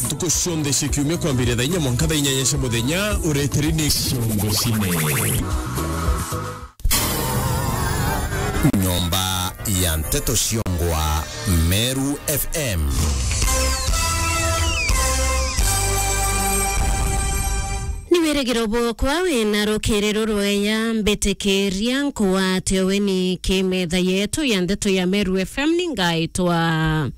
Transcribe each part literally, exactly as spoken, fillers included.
Ntuku cionthe cia kiumia kwambiria thaa inya mwanka thaa inyanya cia muthenya, ureteri ni Ciongo Cine. Nyomba ya Nteto Ciongwa, Meru F M. Ni wirigiro bwokwa wina rukiriro rweya, mbitikiria nkwate weni ki metha yetu ya Nteto ya Meru F M, ni ngaitwa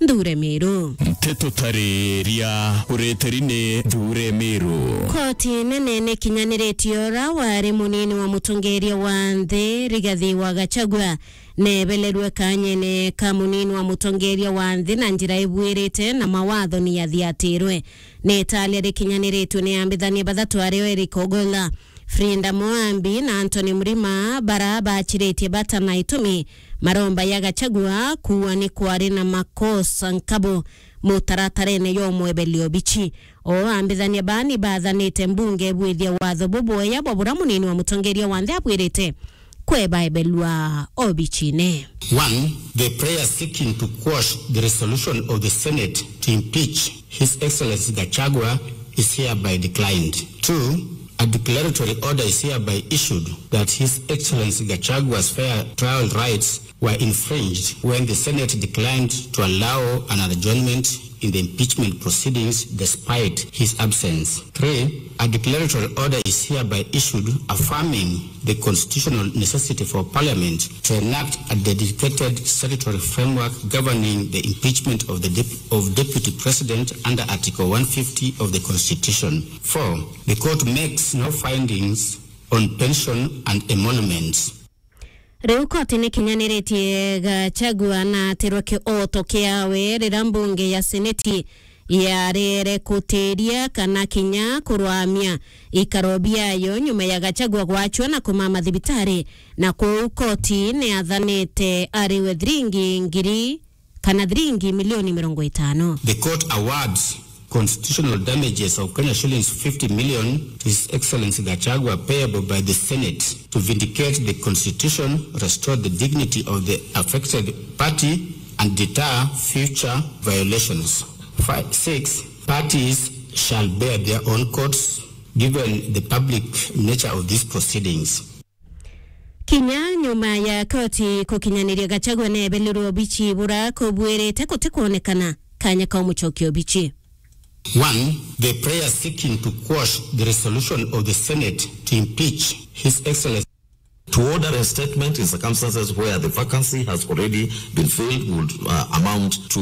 Nthure Miru. Nteto tariria, ureteri ni Nthure Miru. Koti nene nikinyaniritie ura wari munini wa mutongeria wa nthi, Rigathi wa Gachagua, nebelerwe kanyene ka munini wa mutongeria wa nthi na njira ibuirite na mawatho ni yathiatirwe. Ni italia rikinyaniritue ni ambithania bathatu, ario Eric Ogolla, Frida Moambi na Anthony Mrima, bara bachiritie bata na itumi maromba ya Gachagua kuua ni kwari na makosa nkabo mutaratarene yo mwebeli obichi. O ambithania baa ni bathanite mbunge ibwithia watho bubweya bwa bura munini wa mutongeria wa nthi abwirite kwebaebelua obichine. One, the prayer seeking to quash the resolution of the Senate to impeach His Excellency Gachagua is hereby declined. Two, a declaratory order is hereby issued that His Excellency Gachagua's fair trial rights were infringed when the Senate declined to allow an adjournment in the impeachment proceedings despite his absence. Three, a declaratory order is hereby issued affirming the constitutional necessity for Parliament to enact a dedicated statutory framework governing the impeachment of the dep-, of Deputy President under Article one fifty of the Constitution. Four, the court makes no findings on pension and emoluments. Riu koti ni kinyaniritie Gachagua na atirwe kioto kiawe riria mbunge ya seneti yarere kutiria kana kinya kurwamia ikaro biayo nyuma ya Gachagua gwachwa na kumama thibitari, na kuu koti ni athanite ariwe thiringi ngiri kana thiringi milioni mirongo itano. The court awards constitutional damages of Kenya shillings fifty million to His Excellency Gachagua payable by the Senate to vindicate the constitution, restore the dignity of the affected party, and deter future violations. Five, six, parties shall bear their own costs given the public nature of these proceedings. Kinya nyuma ya koti kukinyaniria Gachagua nebelirwe obichi bura kubwirite gutikwonekana kanya ka umucokia obichi. One, the prayer seeking to quash the resolution of the Senate to impeach His Excellency. To order reinstatement in circumstances where the vacancy has already been filled would, uh, amount to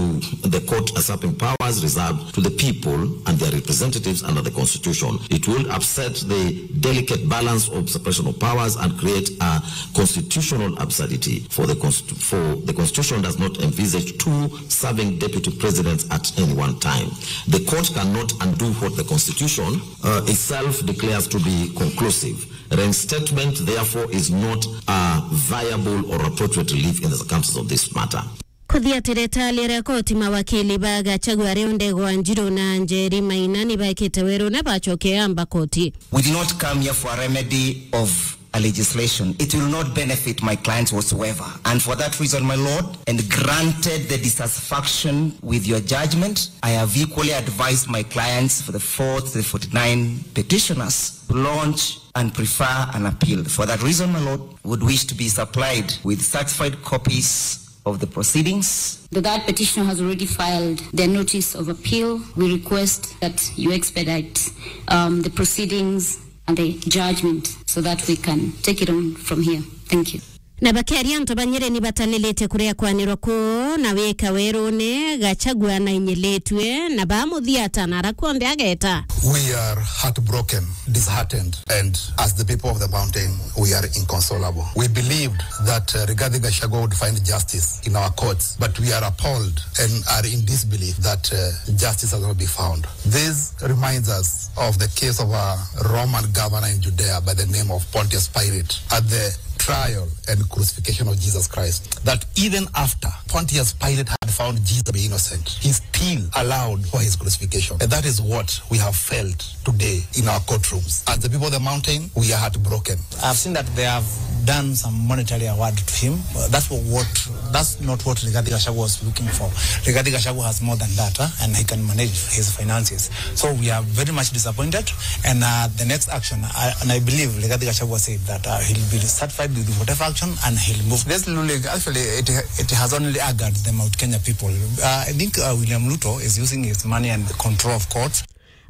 the court usurping powers reserved to the people and their representatives under the Constitution. It would upset the delicate balance of separation of powers and create a constitutional absurdity for the const-, for the Constitution does not envisage two serving deputy presidents at any one time. The court cannot undo what the Constitution, uh, itself declares to be conclusive. Reinstatement, therefore, is not a viable or appropriate relief in the circumstances of this matter. Kuthiatira italia ria koti, mawakili ba Gachagua, Riu Ndegwa Njiru na Njeri Maina, ni baikite werune bacoke amba koti. We did not come here for a remedy of a legislation. It will not benefit my clients whatsoever. And for that reason, my lord, and granted the dissatisfaction with your judgment, I have equally advised my clients for the fourth, the forty-nine petitioners to launch and prefer an appeal. For that reason, my lord, would wish to be supplied with certified copies of the proceedings. The third petitioner has already filed their notice of appeal. We request that you expedite, um, the proceedings and the judgment so that we can take it on from here. Thank you. Na bakeria antu ba Nyeri ni batalilite kuria kwanirwa kuu na wika werune, Gachagua na inyilitue na bamuthiata na ara kuonthe ageta. We are heartbroken, disheartened, and as the people of the mountain, we are inconsolable. We believed that, uh, Rigathi Gachagua would find justice in our courts, but we are appalled and are in disbelief that, uh, justice has not been found. This reminds us of the case of a Roman governor in Judea by the name of Pontius Pilate at the trial and crucifixion of Jesus Christ, that even after Pontius Pilate had found Jesus to be innocent, he still allowed for his crucifixion. And that is what we have felt today in our courtrooms. As the people of the mountain, we are heartbroken. I've seen that they have done some monetary award to him. Uh, that's what, what, that's not what Rigathi Gachagua was looking for. Rigathi Gachagua has more than that, huh? And he can manage his finances. So we are very much disappointed. And, uh, the next action, uh, and I believe Rigathi Gachagua said that, uh, he'll be satisfied with whatever action and he'll move. This ruling, actually, it, it has only angered the Mount Kenya people. Uh, I think, uh, William Ruto is using his money and the control of courts.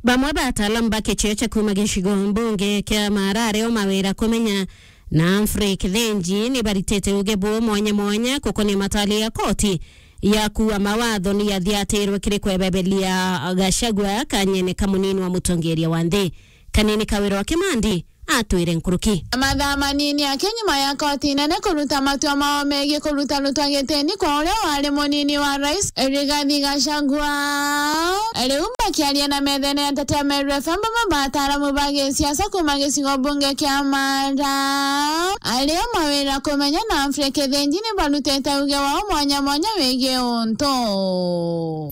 Bamwe ba ataalamu ba kichio cha kuuma gicigo mbunge kia Maara ario mawira kumenya na Humphrey Kithinji ni baritite uge bu mwanya mwanya kukonia matali ya koti ya kuua mawatho ni yathiatirwe kiri kwebebelia Gachagua kanyene ka munini wa mutongeria wa nthi. Kanini Kawira wa Kimandi atwire nkuruki. Mathaa manini aki nyuma ya koti nene kuruta matua mao megii kuruta Ruto gitini kwa uria wari munini wa rais, Rigathi Gachagua. Riu bakiaria na methene ya Nteto ya Meru F M, bamwe ba ataaramu ba gisiasa kuuma gicigo mbunge kia Maara ario mawira kumenya na Humphrey Kithinji ni barutite uge wao mwanya mwanya wigii untu.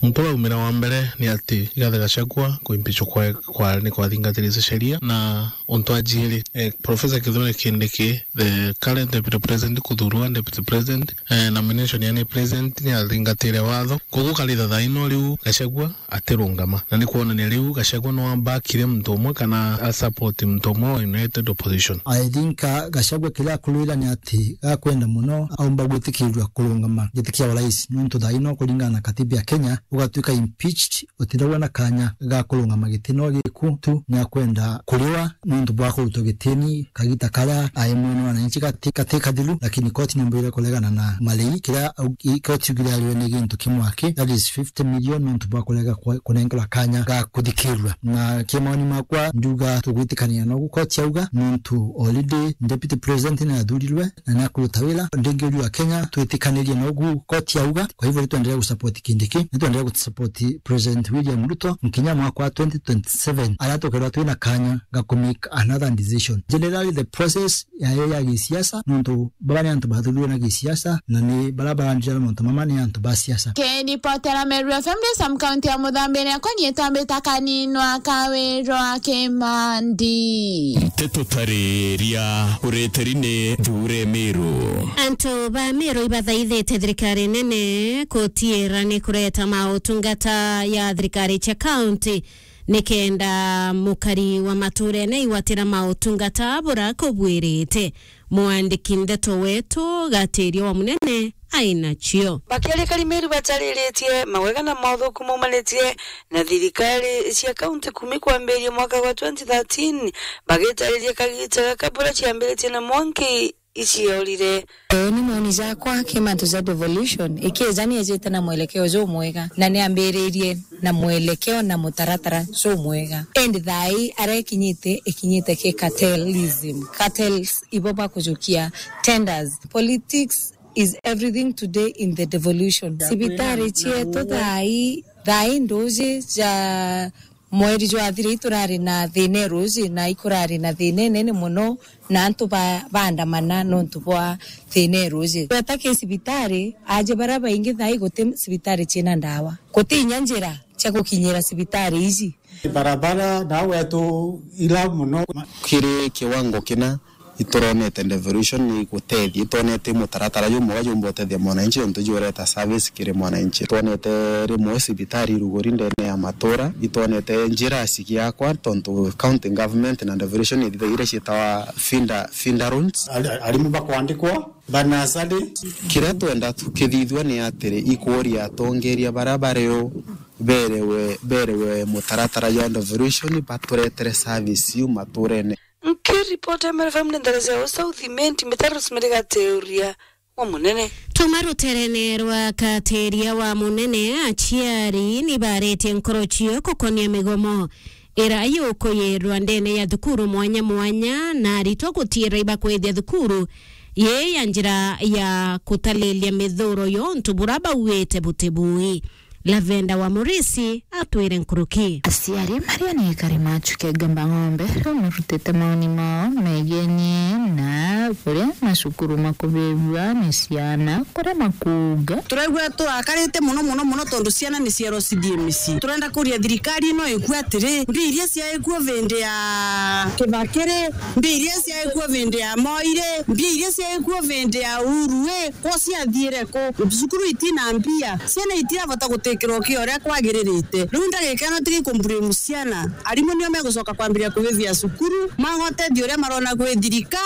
Muntu waumira wa mbere ni ati Rigathi Gachagua kuimpeachwa kwa, kwa ni kwathingatiritie sheria, na untu wa jiiri, eh, Professor Kithure Kindiki, the current deputy president, kuthurwa deputy president, eh, nomination ya ni president ni athingatire watho. Koguo kari thathaino riu Gachagua atirungama. Na ni kwonania riu Gachagua no abakire muntu umwe kana a support muntu umwe wa United Opposition. I think, uh, Gachagua kiria akurwira ni ati gakwenda muno aumba gwitikirirua kurungama giti kia urais, nontu thaino kuringana na katiba ya Kenya, ugatuika impeached, utithagwa na kanya ga kurungama giti no giku tu, ni akwenda kuriwa nontu bwa kurutwa gitini kagita karia ai mwene wananchi gati, gati kathiru, lakini koti ni mbwire kuregana na marei, kiria au-, i-, koti yugire ariwe ni gintu kimwe aki, that is fifty million, nontu bwa kurega kwa-, kunengerwa kanya ga kuthikirua. Na kimaoni makwa, nduga tugwitikania nogu koti yauga, nontu already deputy president ni athurirwe, na ni akuruta wira. Ndingi uriu wa Kenya, twitikanirie nogu koti yauga. Kwa hivyo, nitwendelee gusupport Kindiki, nitwendelee gusupport President William Ruto nkinya mwaka wa twenty twenty-seven, aria tukeethirwa twina kanya ga ku make another decision. Generally, the process yayo ya gisiasa, nontu baba ni antu bathurirwe na gisiasa, na ni baria barandira mauntu mama ni antu ba siasa. Kiripotera Meru F M, ndi Sam County ya Muthambiria, kwa nietwa mbita Kaninwa Kawirwa Kimandi. Nteto tariria ureteri ni Thure Meru. Antu ba Meru ibathaithite thirikari nene kutiira ni kureta mautungata ya thirikari cia county, nikenda mukari wa maturene igwatira mautungata bura kubwirite. Mwandiki ndeto wetu Gatiria wa Munene ainacio. Bakiaria Karimeru batariritie mawega na mothuku maumanitie na thirikari cia kaunti kuuma kwambiria mwaka wa twenty thirteen, bagitariria kagita gaka bura ciambiritie na mwanki iciorire. Ii ni moni jakwa ki mantu ja devolution, ikija ni ejite na mwelekeo jumwega, na ni ambiririe na mwelekeo na mutaratara jumwega. Indi thaa ii aria ikinyite, ikinyite ki cartelism. Cartels ibo bakujukia tenders. Politics is everything today in the devolution. Cibitari cietu thaa ii, thaa ii nduji ja mweri jwathira iturari na thina iruji, na ikurari na thina inene muno, na antu ba-, baandamana nontu bwa thina iruji. Gweta ki cibitari, aje baria baingi thaa ii guti cibitari ciina ndawa. Guti inya njira cia gukinyira cibitari iji. Barabara na wetu ila muno. Kiri kiwango kina ituronete devolution ni gutethia, itonete mutaratara jumwega jumba utethia mwananchi, nontu jureta service kiri mwananchi. Twonete rimwe cibitari iruguri ndene ya matura, itwonete njira cigiakwa, tontu county government na devolution ithithagia iria cietawa feeder, feeder roads. Ari-, arimu bakwandikwa, banasari. Kiria twenda tukithithua ni atiri, ikuria atongeria baria bario berewe, berewe mutaratara jwa devolution, baturetere service iu maturene. Nkiripota Meru F M ni Ndereza ya South Imenti, Mitaro Rosemary Gateuria wa Munene. Tuma ruterene rwa Kateria wa Munene, aciari ni baretie nkoro cio kukonia migomo ira yukuyirwa ndene ya thukuru mwanya mwanya, na aritwa gutiira ibakwithia thukuru yi ya njira ya kutalilia mithuro yontu bura bauite buti bui. Lavenda wa Murisi atwire nkuruki. Aciari maria ni ikari machuke Gamba Ng'ombe riu marutite maoni mao megenie na buria macukuru makubirua ni ciana, kuria makuuga. Turaigua turakarite muno, muno, muno, tondu ciana ni ciero cithie micii. Turenda kuria thirikari ino ikue atiri, mbia iria ciaikuo vindi ya Kibaki ri, mbia iria ciaikuo vindi ya Moi ri, mbia iria ciaikuo vindi ya Uhuru ri, ko ciathiire ku? Cukuru itina mbia, ciana itirabota gutikirwa kio uria kwagiririte. Riu ndagika ino tiga ikumblame ciana, arimu nio megucoka kwambiria kubithia cukuru, maga utethio uria marona kwi thirika,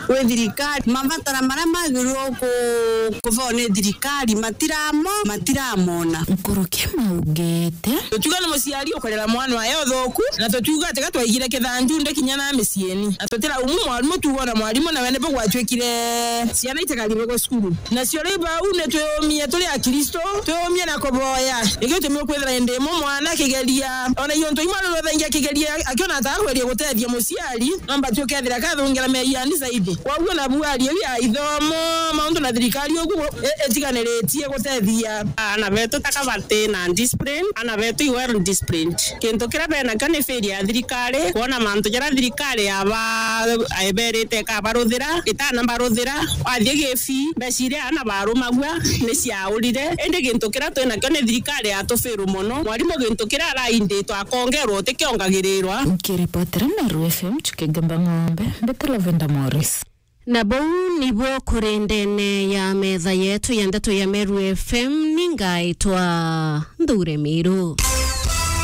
kwi thirikari. Mabatara maria magirwo ku-, kubao ni thirikari matiramo-, matiramona. Nkuruki maugite. Tutiuga ni muciari ukurera mwana wae uthuku, na tutiuga ati ga twaigire kithanju ndi kinya na miciini. Na tutiraumu mwarimu, tuuga ona mwarimu nawe nibo gwatuikire ciana itikaribagwe cukuru. Nacio ri bau ni twiyumie turi Akristo, twiyumie na kuboya. Nikio gitumi ukwithira indi imwe mwana akigeria, ona iyo ntu imwe arirothengia akigeria, akiona ata akweria gutethia muciari, no mbati ukethira kathungira meeyani zaidi. Kwoguo nabu aria iu ya ithomo, mauntu na thirikari ugu i-, itiganiritie gutethia. Aana betu taka bati na discipline, aana betu i well disciplined. Kintu kiria benakio ni failure ya thirikari, kwona mantu jaria thirikari yaba-, eberite ikabaruthira, itana baruthira. Wathie gifi, mbeca iria aana barumagua ni ciaurire. Indi gintu kiria twinakio ni thirikari yatufiru mono. Mwarimu gintu kiria arainditwe akongerwa utikiongagirirwa. Nkiripotera Meru F M chuke Gamba Ng'ombe, mbite Lavenda Morris. Na buu nibuo kuri ndene ya metha yetu ya ndeto ya Meru F M, ni ngaitwa Nthure Miru.